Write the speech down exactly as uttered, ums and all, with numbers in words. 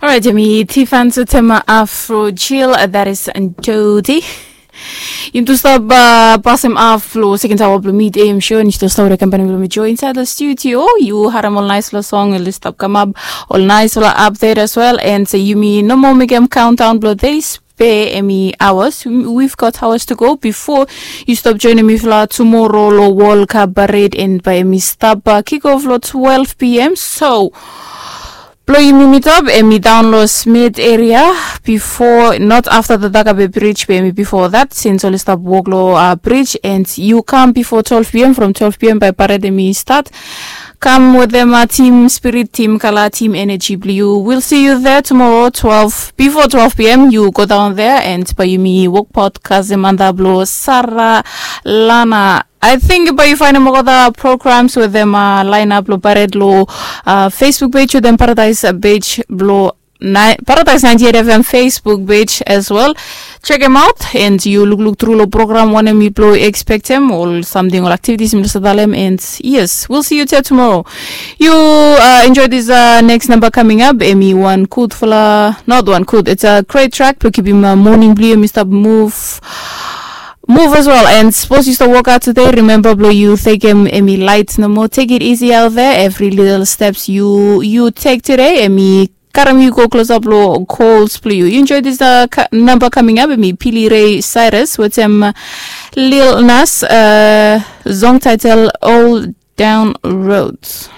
Alright, yumi Tifan Sutema Afro Chill, that is Dodi. Yumi tu stap uh, pasem af lo second hour lo mid A M show, and you still stay with the company lo mi Joy inside the studio. You harem ol nice lo song, ol stap come up, ol nice lo update as well, and say yumi no more make them countdown lo this. Be emi hours. We've got hours to go before you stop joining me for tomorrow lo World Cup parade, and by emi stop uh, kick off lo twelve p.m. So, Blo yumi meet up emi down lo Smith area before, not after the Dakabe bridge, be emi before that, since oli stop work lo uh, bridge, and you come before twelve p.m. From twelve p.m. by parade emi start. Come with them uh, team spirit, team color, team energy blue. We'll see you there tomorrow twelve, before twelve p.m. You go down there and by yumi work podcast them under blo Sarah Lana. I think by you find them all the programs with them uh, line up lo parade lo uh, Facebook page with them paradise uh, page blo Paradise ninety-eight F M Facebook page as well. Check them out and you look look through lo program one mi blo expect them or something or activities mi lo sadalem, and yes, we'll see you there tomorrow. You uh, enjoy this uh, next number coming up. Emi one good fala, not one good. It's a great track. Blo keep him uh, morning blue. Emi stop move move as well. And suppose you still work out today, remember blo you take him emi light no more. Take it easy out there. Every little steps you you take today, emi karem you go close up lo goals blo you. You enjoy this uh, number coming up, emi Pili Ray Cyrus with him uh, Lil Nas uh, song title All Down Roads.